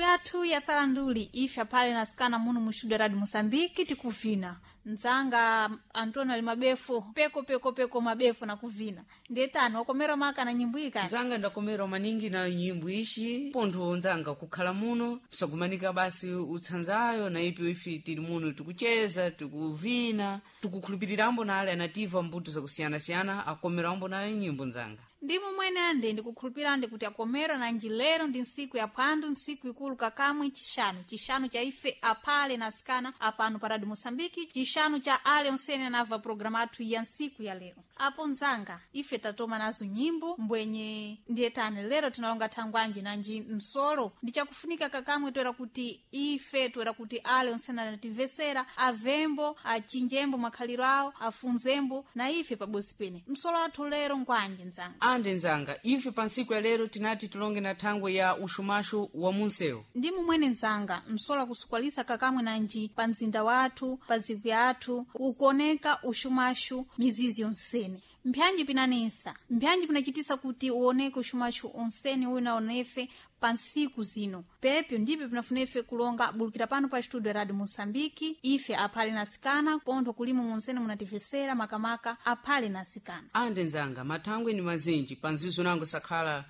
Yathu ya salanduli ife aphale nasikana muno mu studio Radio Moçambique tikuvina nzanga Antônio ali mabefu peko peko peko mabefu na kuvina ndetani wakomera maka na nyimbo iyi kani Nzanga ndakomera maningi na nyimbo ishi pontho nzanga kukhala muno msakumanika basi utsanzayo na ipi ifi tili muno tikucheza, tikuvina, tikukhulupirirambo na ale anativa mbuto zakusiyanasiyana akomerambo nayo nyimbo nzanga. Ndi mumwene ande ndikukhulupirande kuti akomera na njilero ndi ntsiku ya phwando, ntsiku ikulu kakamwe chixanu, chixanu cha ife aphale nasikana apano pa Radio Moçambique, chixanu cha ale onsene anava programa athu ya ntsiku ya lero. Apo nzanga ife tatoma nazo nyimbo mbwenye ndiyetani lero tinalonga thangwanji nanji msolo ndichakufunika kakamwe toera kuti ife toera kuti ale onsene anatimvesera avembo achinjembo makhaliro awo afunzembo na ife pabosi pene msolo athu lero ngwanji nzanga? Ande nzanga, ife pa ntsiku ya lero tinati tilonge na thangwe ya uxumaxu wa munsewu. Ndi mumwene nzanga, msolo akusukwalisa kakamwe nanji pa mzinda wathu, pa dziko yathu ukuoneka uxumaxu mizizi yonsene. Mphanji pinanesa, mphanji pinachitisa kuti uoneke uxumaxu onsene uyu naonefe pa ntsiku zino pepyo ndipyo pinafunefe kulonga bulukira pano pa studio Radio Moçambique ife aphale nasikana pontho kulimo monsene munatimvesera makamaka aphale nasikana. Ande nzanga, mathangwe ni mazinji panzizo nango sakhala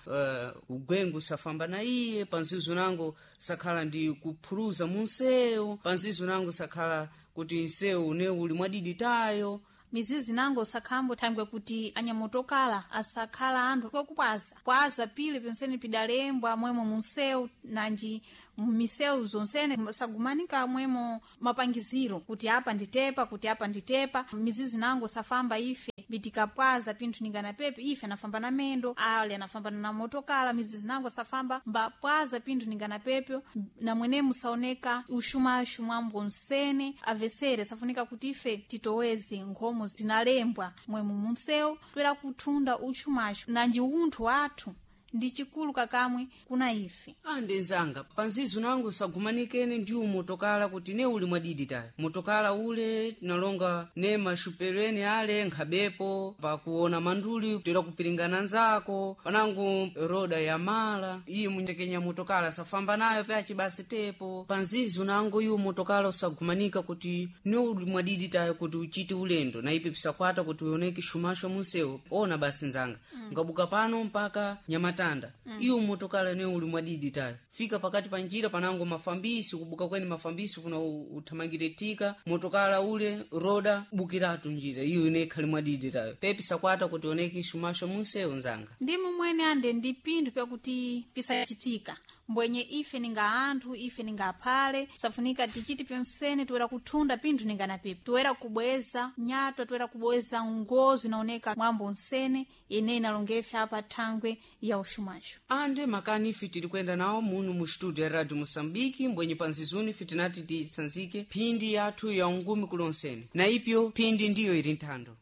ugwengu safamba na iye, panzizo nango sakhala ndi kuphuluza munsewu, panzizo nango sakhala kuti nsewu une uli mwadidi tayo. Mizizi nango sakhambo thangwe kuti anyamotokala asakhala anthu okupwaza pwaza pile pyonsene pidalembwa mwemo munsewu nanji misewu zonsene sagumanika mwemo mapangiziro kuti apa nditepa, kuti apa nditepa. Mizizi nango safamba ife bitikapwaza pinthu ningana pepe ife anafamba na mendo ale anafamba na motokala. Mizizi nango safamba mbapwaza pinthu ningana pepyo na mwene musaoneka uxumaxu mwambo nsene avesere safunika kuti ife titoweze nkhomo zinalembwa mwemu munsewu toera kuthunda uxumaxu nanji unthu wathu ndi chikulu kakamwe kuna ife. Ande nzanga, panzizo nango sagumanikene ndi umotokala kuti ne uli mwadidi tayo motokala ule tinalonga ne maxupereni ale nkhabepo pakuona manduli toera kupiringana nzako panango roda ya mala iye muntekenya motokala safamba nayo pachi basi tepo panzizo nango iwo motokala usagumanika kuti ne uli mwadidi tayo kuti uchite ulendo na ipi pisakwata kuti uoneke xumaxo munsewu. Ona basi nzanga, ngabuka pano mpaka Nyamatanda, iyo motokala ne uli mwadidi tayo fika pakati pa njira panango mafambisi kubuka kweni mafambisi kuna uthamangire tika motokala ule roda bukiratu njira iyo ine ikhali mwadidi tayo pepi sakwata kuti oneke xumaxo munsewu nzanga. Ndi mumwene ande ndi pinthu pyakuti pisachitika mbwenye ife ninga anthu ife ninga aphale safunika tichiti pyonsene toera kuthunda pinthu ningana pepe toera kubweza nyatwa toera kubweza ngozo inaoneka mwambo nsene ine inalongefe apa thangwe ya uxumaxu. Ande makani ife tili kuyenda nawo muno mu studio ya Radio Moçambique mbwenye panzizuni ife tinati titsanzike phindi yathu ya ungumi kulonsene na ipyo phindi ndiyo ili nthando.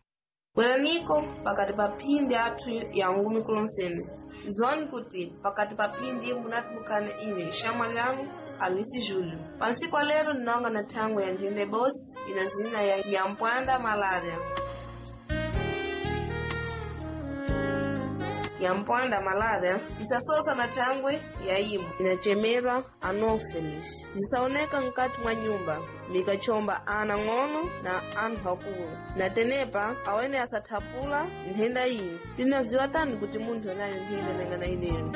Bweraniko pakati pa phindi athu ya ngumi kulonsene zoni kuti pakati pa phindi munatibukana ine xamwa lyangu Alice Júlio. Pansiku lero ninonga na thangwe ya nthende bosi ina zina ya Nyampwanda malaria. Yampwanda malaria isasosa na thangwe ya imu inachemerwa anopheles zisaoneka mkati mwa nyumba mikachomba ana ng'ono na anthu akulu na tenepa awene asathapula nthenda iyi. Tinaziwa tani kuti munthu anayo nthenda nangana ineyo?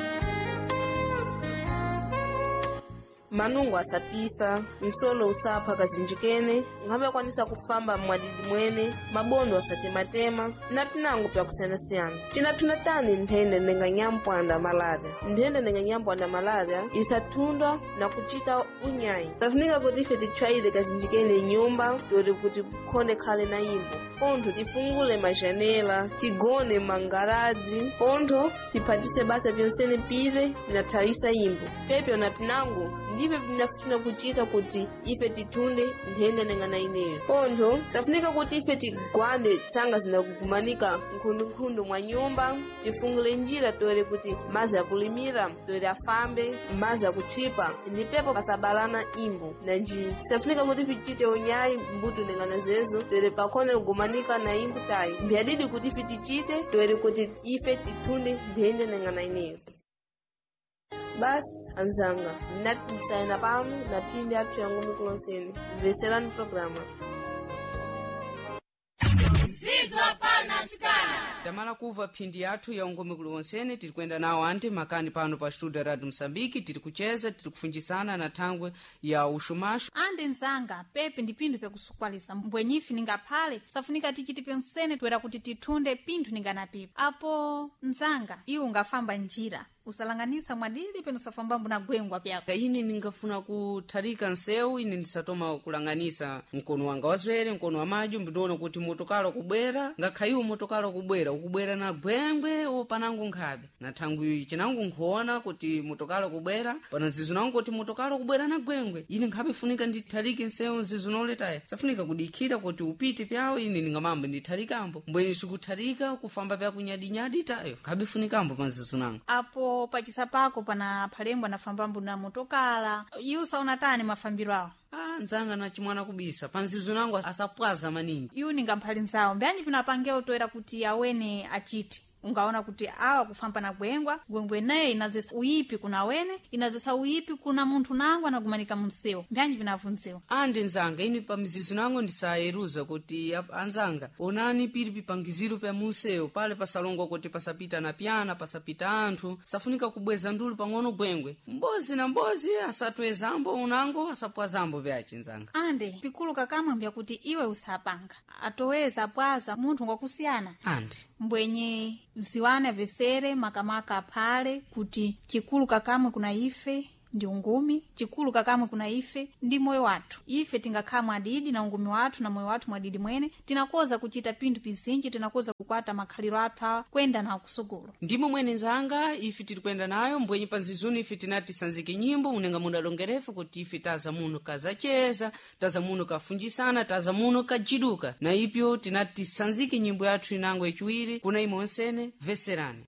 Manungo asapisa, msolo usapha kazinjikene, nkhabe akwanisa kufamba mwadidi mwene, mabondo asatematema na pinango pyakusiyanasiyana. Tinathuna tani nthenda nenga nyampwanda malaria? Nthenda nenga nyampwanda malaria isathundwa na kuchita unyayi. Kafunika kuti ife titchwayire kazinjikene nyumba yoti kuti khonde khale na imbo pontho tifungule majanela, tigone mangaraji pontho tiphatise basa pyonsene pile pinathawisa imbo pepyo na pinango ndipyo pinafuna kuchita kuti ife tithunde nthenda nengana ineyo. Pontho safunika kuti ife tigwande tsanga zinakugumanika nkhundunkhundu mwa nyumba, tifungule njira toere kuti mazi akulimira toere afambe mazi akutchipa ndi pepo pasabalana imbo nanji safunika kuti tichite unyayi mbuto nengana zezo toere pakhone kugumanika na imbo tayi mbyadidi kuti ife tichite toere kuti ife tithunde nthenda nengana ineyo. Basi anzanga, ndinati pano na phindi athu ya ngumi kulonseni. Mveserani programa. Tamala kuva phindi yathu ya ungome kuliwonsene tiri kuyenda nawo anti makani pano pa studio radio Msambiki. Tiri kucheza, tiri kufunjisana na thangwe ya uxumaxu. Ande nzanga, pepe ndi pinthu pyakusukwalisa mbwenyifi ningaphale safunika tichiti pensene toera kuti tithunde pinthu ninganapipa. Apo nzanga, iwe ungafamba njira usalanganisa mwadidi peno usafambambo na gwengwa pyako. Ine ningafuna kuthalika nsewu, ine ndisatoma kulanganisa mkono wanga wazwere, mkono wa madyo, mbitiona kuti motokala kubwera, ngakhaiwo motokala kubwera ukubwera na gwengwe wopanango nkhabe na thangwi cinango nkhuona kuti motokala kubwera pana nzizo nango kuti motokala kubwera na gwengwe, ine nkhabe funika ndithalike nsewu nzizo noletaya safunika kudikhira kuti upite pyawo, ine ningamambo ndithalikambo mbweni sikuthalika kufamba pyakunyadinyadi tayo nkhabe funikambo pa nzizo nango. Apo pachisa pako pana phalembwa anafambambo na motokala, iwe usaona tani mafambiro awo? Ah, nzanga na chimwana kubisa panzizo nango asapwaza maningi. Iwu ningamphali nzawo mbyanji pinapangewo toera kuti awene achite ungaona kuti awa kufamba na gwengwa gwengwe naye inazesa uyipi kuna wene, inazesa uyipi kuna munthu nango anagumanika munsewu, mbyanji pinavunziwa? Andi nzanga, ini pa mizizo nango ndisayeruza kuti anzanga onani pili pipangiziro pya munsewu pale pasalongwa kuti pasapita na pyana pasapita anthu, safunika kubweza ndulu pang'ono gwengwe mbozi na mbozi asatwezambo unango asapwazambo pyace nzanga. Ande pikulu kakamwe mbyakuti iwe usapanga atoweza apwaza munthu ngwakusiyana. Andi mbwenye ziwane avesere makamaka aphale kuti chikulu kakamwe kuna ife ndi ungumi, chikulu kakamwe kuna ife ndi moyo wathu. Ife tingakhala mwadidi na ungumi wathu na moyo wathu mwadidi mwene tinakoza kuchita pinthu pizinji, tinakoza kukwata makhaliro athu awa kwenda nawo kusukulu. Ndimo mwene nzanga ife tiri kuyenda nayo mbwenye panzizuni ife tinati tisanzike nyimbo unenga mudalongerefu kuti ife taza muno kazacheza, taza muno kafunjisana, taza muno kajiduka na ipyo tinati tisanzike nyimbo yathu inango yaciwiri kuna imwe onsene veserani.